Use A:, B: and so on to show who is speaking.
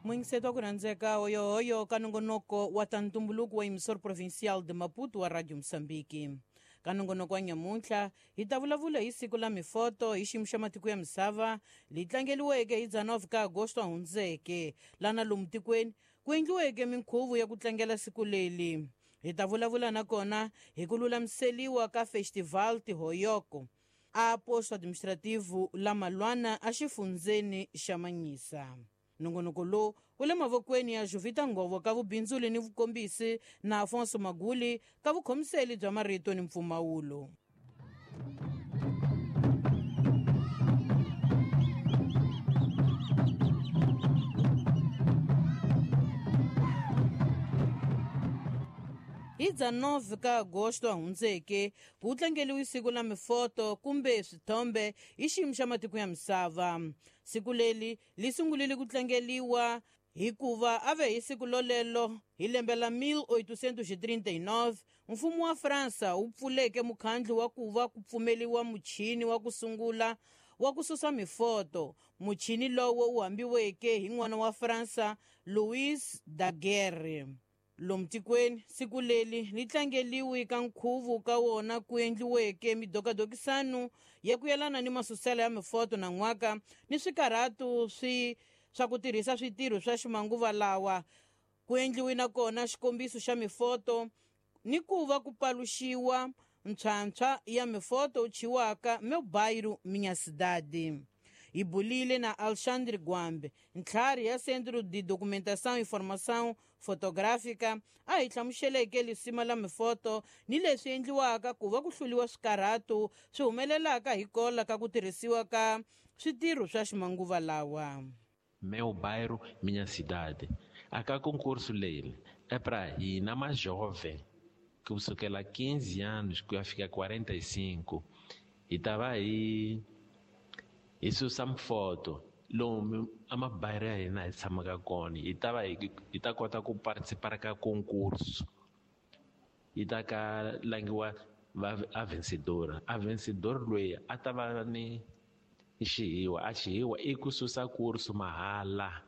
A: Muyingiseti wa ku rhandzeka, hoyohoyo ka nongonoko wa ta ntumbuluko wa Emissor Provincial de Maputo wa Radio Mosambiki. Ka nongonoko wa nyamuntlha hi ta vulavula hi siku la mifoto hi xiyimo xa matiko ya misava leyi tlangeliweke hi 19 ka Agosto hundzeke, lana lomu tikweni ku endliweke minkhuvo ya ku tlangela siku leli. Hi ta vulavula nakona hi ku lulamiseliwa ka Festival Tihoyoko a posto administrativo la Malwana a xifundzeni xa Manyisa. Nongonoko lowu wu le mavokweni ya Jovita Ngovo ka vubindzuli ni vukombisi na Afonso Maguli ka vukhomiseli bya marito ni mpfumawulo. Hi 19 ka Agosto hundzeke ku tlangeliwe siku la mifoto kumbe swithombe hi xiyimo xa matiko ya misava. Siku leli li sungulile ku tlangeliwa hikuva a ve hi siku lolelo hi lembe la 1839 mfumo wa Fransa wu pfuleke mukhandlu wa ku va ku pfumeliwa muchini wa ku sungula wa ku susa mifoto. Muchini lowo wu hambiweke hi n'wana wa Fransa Louis Daguerre. Lomu tikweni siku leli li tlangeliwe ka nkhuvo ka wona ku endliweke midokadokisano ya ku yelana ni masuselo ya mifoto na n'waka ni swikarhatu swa ku tirhisa switirho swa ximanguva lawa. Ku endliwe nakona xikombiso xa mifoto ni ku va ku paluxiwa ntshwantshwa ya mifoto wu chiwaka Meu Bairro Minha Cidade. Hi bulile na Alexandre Gwambe, ntlhari ya Centro de Documentação e Formação Fotográfica, a hi hlamuseleke lisima la mifoto ni leswi endliwaka ku va ku hluliwa swikarhatu swi humelelaka hi kola ka ku tirhisiwa ka switirho swa ximanguva lawa.
B: Meu Bairro Minha Cidade. A ka concurso leli é pra hina mais jovem, kusukela 15 anos ku ya fika 45, hi ta va hi susa mifoto lomu a mabayiro ya hina hi tshamaka kona, hi ta va hi ta kota ku participar ka concurso. Yi ta ka langiwa va a vencedora. A vencedor loyi a ta va ni xihiwa, a xihiwa i ku susa kursu mahala.